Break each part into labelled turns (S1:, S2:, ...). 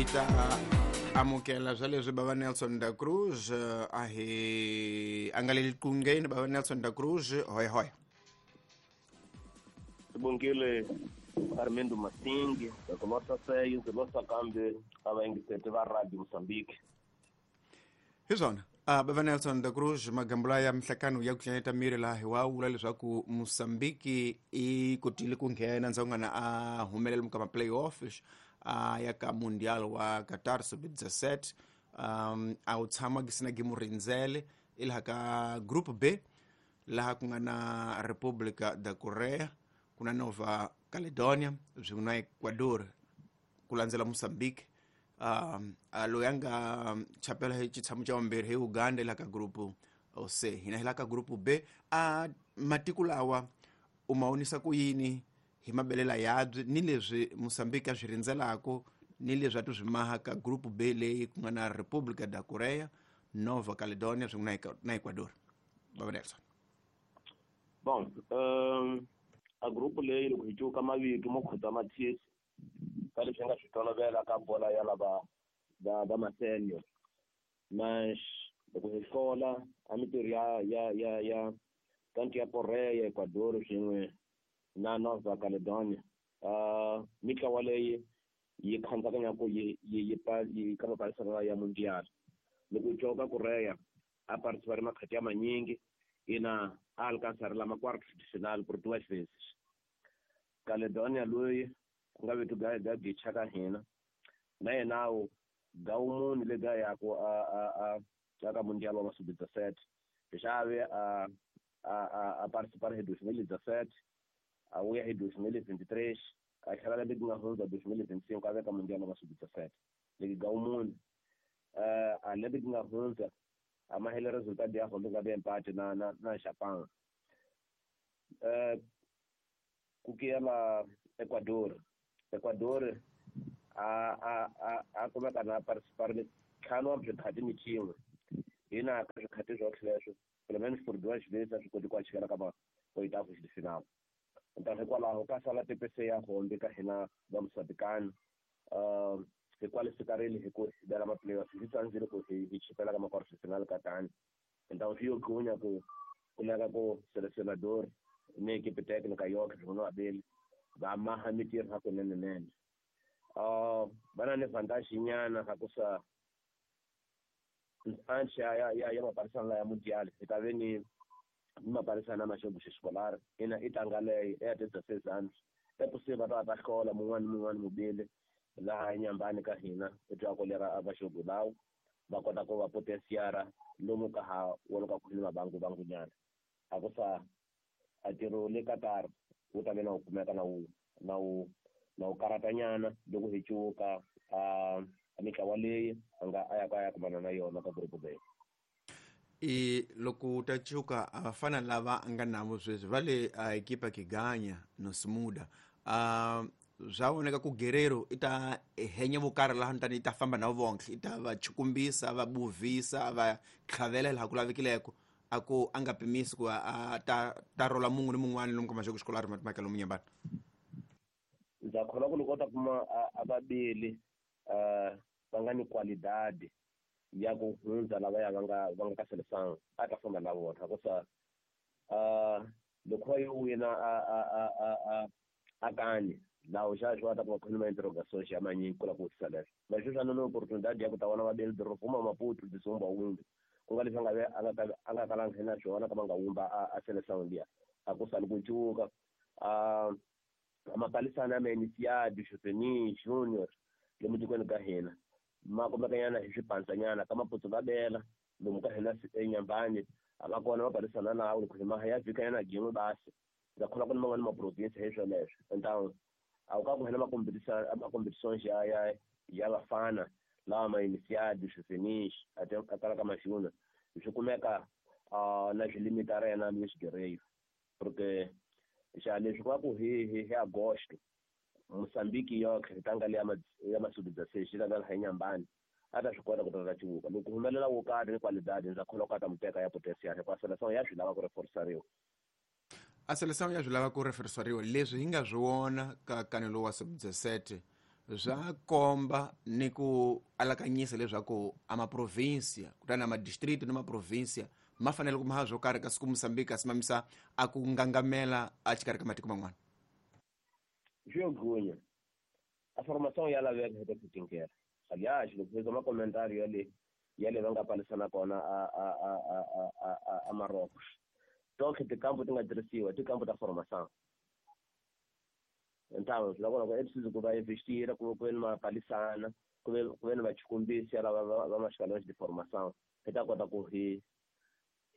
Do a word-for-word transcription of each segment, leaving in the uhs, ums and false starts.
S1: Hi ta amukela swa leswi bava Nelson da Cruz a hi a nga le liqungeni. Bava Nelson da Cruz, hoy hoy.
S2: Sibongile Armando Masingi, ndzi seyo ndzi losa kambe a vayingiseti va Radio Mozambique.
S1: Hi swona uh, bava Nelson da Cruz, magambula ya mihlakano ya ku tlanyeta miri laha hi wa vula leswaku Mozambique i kotile ku nghena ndzawungana a humelela muka ma-playoff a ya ka Mundial wa Qatar sub dezesete. um, a wu tshama gisina gimu rindzele i laha ka Group B, laha ku nga na República da Korea, ku na Nova Caledonia swin'we na Ecuador ku landzela Mozambique. um, a loyi a nga chapela hi xitshamo xa vumbirhi hi Uganda laha ka Group C. Hina hi laha ka Group B. A matiko lawa u ma vonisa ku yini hi mabelela yabyi ni leswi Mozambique a swi rindzelaka ni leswi a ti swi maha ka Group B leyi ku nga na República da Korea, Nova Caledonia swin'we na Ecuador? Bava Nelson.
S2: Bon, um, a group leyi loko hi cuka mavito mo khota mathisi ka leswi nga swi tolovela ka bola ya lava va va ma-senior, mas loko hi hlola a mintirho ya ya ya ya tanto ya Korea, Ecuador swin'we na Nova Caledonia, uh, mitlawa leyi yi khandzakanyaka yi yi yi yi ka mapalisana ya Mundial. Loko u coka Korea a participar makhati ya manyingi ina a alcançar la ma-quartos de final por duas vezes. Caledonia loyi ku nga vetu ga ga gicha ka hina na yena wu gawumuni le ga yaku a a a ka Mundial wa sub dezesete xave a a a a participar hi dois mil e dezesete, a vuya hi dois mil e vinte e três, a tlhela lembe ku nga hundza dois mil e vinte e cinco a veka Mundial wa sub dezesete leki gawumuni. uh, a lembe ku nga hundza a mahele resultado ya hombe nga empate na na na Japan. Uh, ku kiyela Ecuador, Ecuador a a a a kumeka na participar ntlhanu wa swikhati ni xin'we hina ka swikhati swo leswo pelo menos por duas vezes a swi koti ku achikela ka ma oitavos de final. Então hikwalaho ka sala T P C ya hombe ka hina va Mozambicano, uh, hi qualificarile hi ku hi bela ma-playoffs, hi tsandzile ku hi hi chipela ka ma-quarter de final ka tani. Então swi yo gqunya ku kumeka ku selecionador ni equipe técnica yoke swin'we no abeli va maha mintirho hakunenenene. Uh, va na ni vantagem nyana ha ku sa antes ya ya ya maparisana ya Mundial hi ta ve ni maparisana ma jogo escolar ina i tanga leyi ya dezesseis anos é possível va ta hlola mun'wana mun'wana mubili laha nyambani ka hina i twa ku lera a va jogo lawo va kota ku va potenciara lomu ka ha woloka ku ni mabangu bangu nyana a ku sa a ntirho le Qatar wu ta ve na wu kumeka na wu na wu na wu karatanyana loko hi cuka a mitlawa leyi a nga a ya ka ya kumana na yona ka group B.
S1: I loko u ta cuka a vafana lava nga navo sweswi va le a ekipa Kiganya no Smuda, a swa voneka ku Guerrero i ta henya vo karhi laha ntani i ta famba na vonke, i ta va chukumbisa, va buvisa, va tlhavela laha ku lavekileko, a ku a nga pimisi ku a ta ta rola mun'we ni mun'wana lomu ka maxoko xikolari mhaka lomu nyambana.
S2: Ndza kholwa ku loko u ta kuma a vabeli va nga ni qualidade ya ku hundza lavaya va nga va nga ka seleção a ta famba na vona hikusa loko va yo wina a a a a a a kani lawo xa xi va ta ku va khona interrogations ya manyingi ku la ku vutisa leswo. Mas sweswi a ni opportunidade ya ku ta vona vabeli doroba Maputo disumba wumbi ku nga leswi a nga ve a nga a nga kalanga na swona ka va nga wumba a a seleção liya a ku sali ku cuka. A mapalisana ya iniciado juvenil junior lomu tikweni ka hina ma kumekanyana hi swipandzanyana ka Maputo va bela lomu ka hina enyambani a va kona mapalisana lawo loko hi maha ya vhikanyana gin'we basi ndza kholwa ku ni man'wani ma-province hi swoleswo. Então a wu ka ku hina ma-competitions ya ya ya vafana lawa ma iniciado juvenis a kala ka ma-junior swi kumeka na swi limita rena Luis Guerreiro porque xa leswi va ku hi hi hi agosto Mozambique yoke hi tanga leya ya ma-sub dezesseis yi ta laha enyambani a ta swi kota ku ta ta cuka loko ku humelela wo karhi ni qualidade ndza kholwa ku a ta mu teka ya potencial hikuva seleção ya swi lava ku reforçariwa.
S1: A seleção ya swi lava ku reforçariwa leswi hi nga swi vona ka kanelo wa sub dezesete Swa komba ni ku alakanyisa leswaku a maprovinsia kutani a madistrict na maprovinsia ma fanele ku maha swo karhi kasi ku Mozambique a simamisa a ku ngangamela a xikarhi ka matiko man'wana.
S2: Swi yo gunya a formação ya laveka hi ta aliás loko hi zwa makomentari ya le ya le va nga palisana kona a a a a a a a Marocos donc tikampo ti nga tirhisiwa tikampo ta formação então swi lava ku é preciso ku va investira ku ku ve ni mapalisana ku ve ku ve ni vachikumbisi lava va va mashikalweni de formação hi ta kota ku hi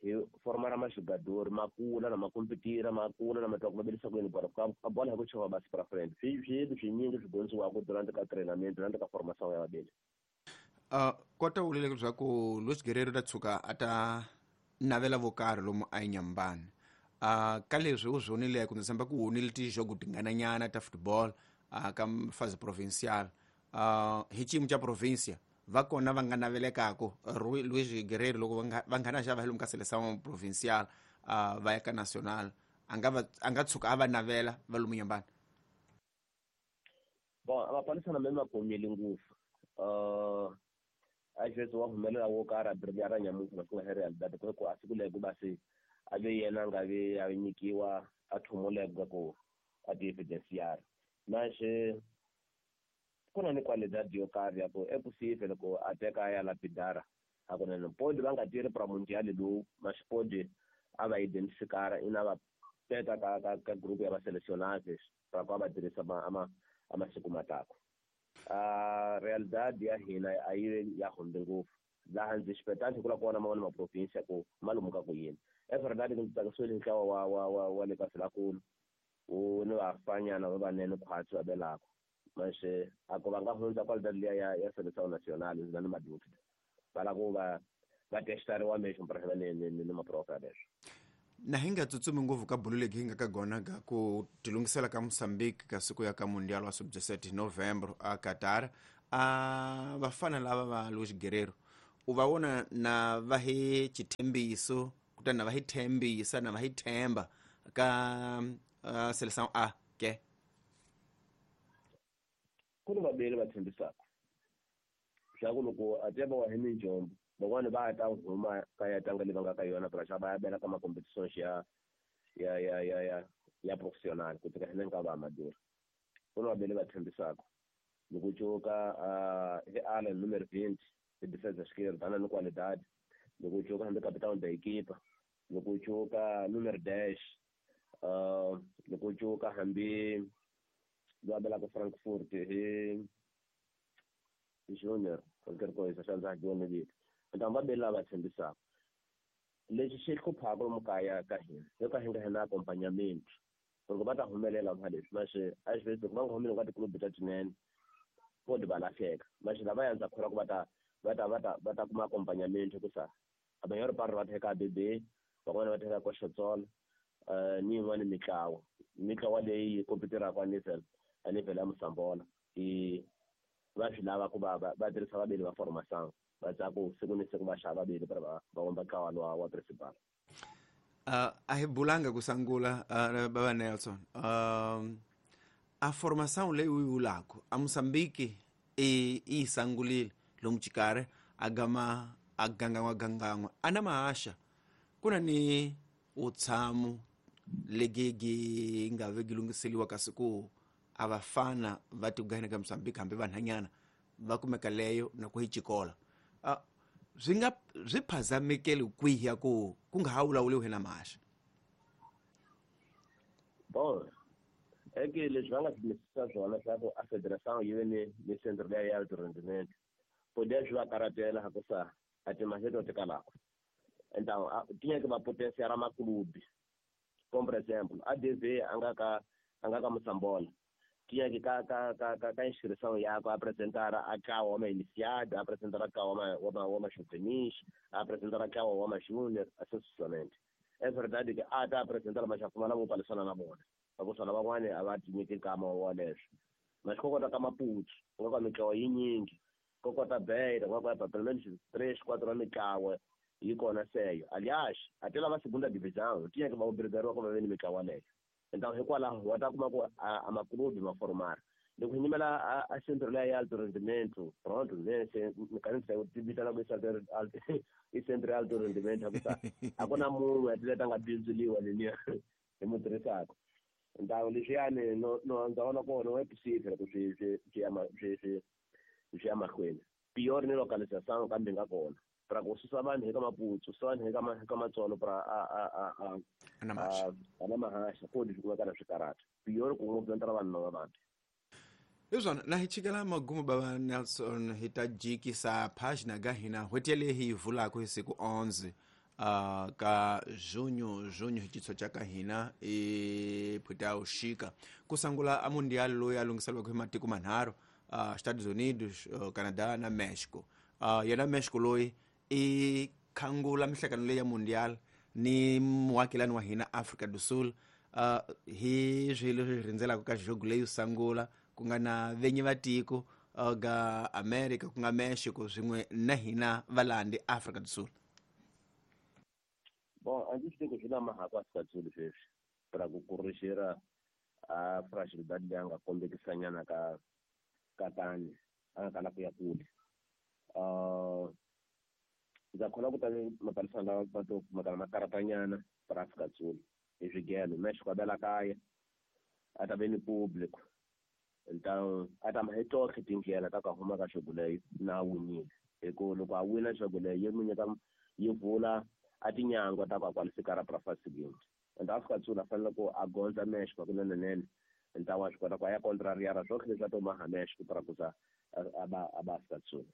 S2: hi formara majogador ma kula na ma competira ma kula na ma twa ku va ku yini bolo a bola hi ku chova basi para frente swi swi swinyingi swi dyondziwaka durante ka treinamento durante ka formação ya vabeli.
S1: Uh, kota u vule leswaku Luis Guerreiro ta tshuka a ta navela vo karhi lomu a Inhambane. Uh, ka leswi u swi vonile ku ndzi tshemba ku wonile tijogo tingananyana ta football uh, ka fase provincial uh, hi xiyimo xa provincia va kona va nga navelekaka Luis Guerreiro loko va nga na xava hi lomu ka seleção provincial uh, va ya ka national a nga va a nga tshuka a va navela va lomu Inhambane.
S2: Bon a mapalisana me ma komile ngopfu uh, às vezes wa humelela wo karhi a brilhar ra nyamuntlha na swi nga hi realidade ku ku a siku leyi ku va se a ve yena a nga vi a nyikiwa a thumuleka ku a ti evidenciar mas ku na ni qualidade yo karhi ya ku é possível loko a teka a ya lapidara hakunene pode va nga tirhi para mundial lowu mas pode a va identificara ina va teka ka ka ka group ya va selecionáveis para ku va tirhisa ma ama a masiku matako. A realidade ya hina a yi ya hundze ngopfu laha ndzi xipetani ku la kona man'wana maprovinsia ku ma lomuka ku yini é verdade ndzi tsakisiwile hi ntlawa wa wa wa wa le ka Vilakulu wu ni vafanyana va vanene khwatsi va belaka mas a ku va nga hundza qualidade liya ya ya seleção nacional ndzi na ni madúvida va lava ku va va testariwa mesmo para ni ni ni maprofa leswo.
S1: Na hi nga tsutsumi ngopfu ka bulu legi hi nga ka gona ka ku tilungisela ka Mozambique ka siku ya ka Mundial wa sub dezesete Novembro a Qatar a vafana lava va Luis Guerreiro u va vona na va hi xithembiso kutani na va hi thembisa na va hi themba ka uh, seleção A ke
S2: ku ni vabeli va tshembisaka swa ku loko a tiva wa hi minjombo van'wani va ta huma ka ya tlanga leyi va nga ka yona para xa va ya bela ka ma-competitions ya ya ya ya ya ya professional ku tika hineni ka va amador ku ni vabeli va tshembisaka loko cuka hi Allen numero vinte hi defensa esquerda ana ni qualidade loko cuka hambi capitão da equipa loko cuka numero dez loko cuka hambi va belaka Frankfurt hi hi junior qualquer coisa xa ndza ha vito então va beli lava tshembisaka lexi xi hluphaka lomu kaya ka hina yo ka hi nga hi na acompanhamento loko va ta humelela va leswi mas às vezes loko va nga humeleli ka tiklubu ta tinene pode va lahleka mas lava ya ndza kholwa ku va ta va ta va ta va ta kuma acompanhamento hikusa a maior parte va teka B B van'wana va teka Koxotsola ni yin'wani mitlawa mitlawa leyi kompetiraka a nível a nível ya Mosambola i va swi lava ku va va tirhisa vabeli va formação va tsaku siku ni siku va xava vabeli para va va vumba ntlawa lowa wa principal.
S1: Uh, a hi bulanga ku sangula uh, baba Nelson uh, a formação leyi u yi vulaka a Mozambique i yi sangulile lomu xikarhi a gama a gangan'wa gangan'wa a na mahaxa ku na ni vutshamo legi nga ve gi lunghiseliwa kasi ku a vafana va tigahina ka Mozambique hambi vanhanyana va kumeka leyo na ku hi xikola uh, swi nga swi phazamekeli kwihi ya ku ku nga ha vulavuriwi na mahaxa.
S2: Bon é que leswi va nga swi swona swa ku a federação yi ve ni ni centro leya ya alto rendimento poder swi va karhatela hikusa a timali to tikalaka então ti nyeke va potenciar maklubi como por exemplo a D V a nga ka a nga ka Mosambola tinha que ka ka ka ka ka inscrição yakwe apresentar a ntlawa wa ma-iniciado apresentar a ntlawa wa ma wa ma-juvenis apresentar a ntlawa wa ma-junior sucessivamente. É verdade que a ta apresentar mas xa pfumala vo palisana na vona hikusa lavan'wani a va ti nyiki nkama wa leswo mas ko kota ka Maputo ku nga ka mitlawa yinyingi ko kota Beira ku nga ka pelo menos três quatro mitlawa yi kona seyo aliás até lava segunda divisão tinha que va obrigariwa ku va ve ni mitlawa leyo então hikwalaho wa ta kuma ku a maklubi ma formar Loko hi nyimela a centro leya ya alto rendimento pronto ne se ni kanisa ku ti vitana ku i centro ya alto rendimento a ku ta a ku na munhu a tileta nga bindzuriwa leniya hi mu tirhisaka. Ntawo leswiyani no no ndza vona kona wa possível ku swi swi swi ya swi swi swi ya mahlweni. Pior ni localização kambe nga kona para ku susa vanhu eka Maputo, susa vanhu eka eka Matsolo para a a a a a na mahasha kodi swi kumeka na swikarata. Pior ku ngopfu vanhu lava vanhu.
S1: Hi swona na hi chikela magumu bava Nelson hi ta jikisa página ga hina n'hweti yaleyi hi yi vulaka hi siku onze uh, ka junho junho hi xitshwa ka hina i phita uxika ku sungula a mundial loyi a lunghiseriwaka hi matiko manharhu uh, Estados Unidos, uh, Canada na Mexico. Uh, yena Mexico loyi i khangula mihlangano leyi ya mundial ni muakelani wa hina Afrika do Sul. Uh, hi swilo leswi rindzelaka ka jogo leyi sungula ku nga na venyi va tiko uh, ga America ku nga Mexico swin'we na hina valandi Afrika do Sul.
S2: Bom, a ndzi swi tivi ku swi na mahako Afrika do Sul sweswi para ku kurixera a fragilidade leyi a nga kombekisanyana ka ka tani a nga kala ku ya kule. Uh, ndza kholwa ku ta mapalisana lawa va to kumekana makaratanyana para Afrika do Sul hi swigelo. Mexico a bela kaya a ta ve ni público, então a ta ma hi tohle tindlela ta ku huma ka xogo leyi na winile hi ku loko a wina xogo leyi yi n'wi nyika yi vula a tinyangwa ta ku a qualificar para fase seguinte. Então Afrika do Sul a fanele ku a gondza Mexico kunenenene, então wa swi kota ku a ya contrariar swohle leswi a to maha Mexico para ku za a ba a ba Afrika do Sul.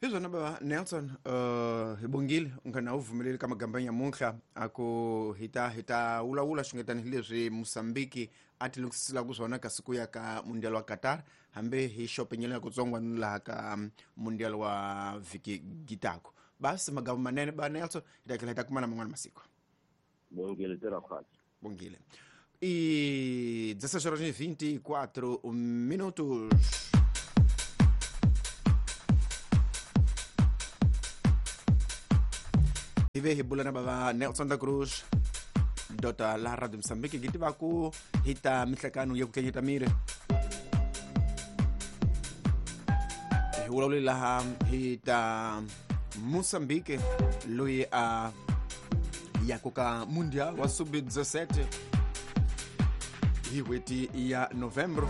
S1: Hi swona bava Nelson, uh, hi bongile u nga na wu pfumeleli ka magamba nyamuntlha a ku hi ta hi ta vulavula xungetani hi leswi Mozambique a ti lunghiselaka swona ka siku ya ka mundial wa Qatar hambi hi xopenyela ya kutsongwa ni laha ka mundial wa vhiki gitako. Basi magamba manene ba Nelson, hi ta tlhela hi ta kumana man'wana masiku.
S2: Bongile tirha khwatsi.
S1: Bongile. E dezesseis horas e vinte e quatro minutos. Hi ve hi bula na bava Nelson da Cruz dota la Radio Mozambique gi tiva ku hi ta mihlekano ya ku tlanyeta miri hi vulavule laha hi ta Mozambique loyi a ya koka mundial wa sub dezessete hi n'hweti ya novembro.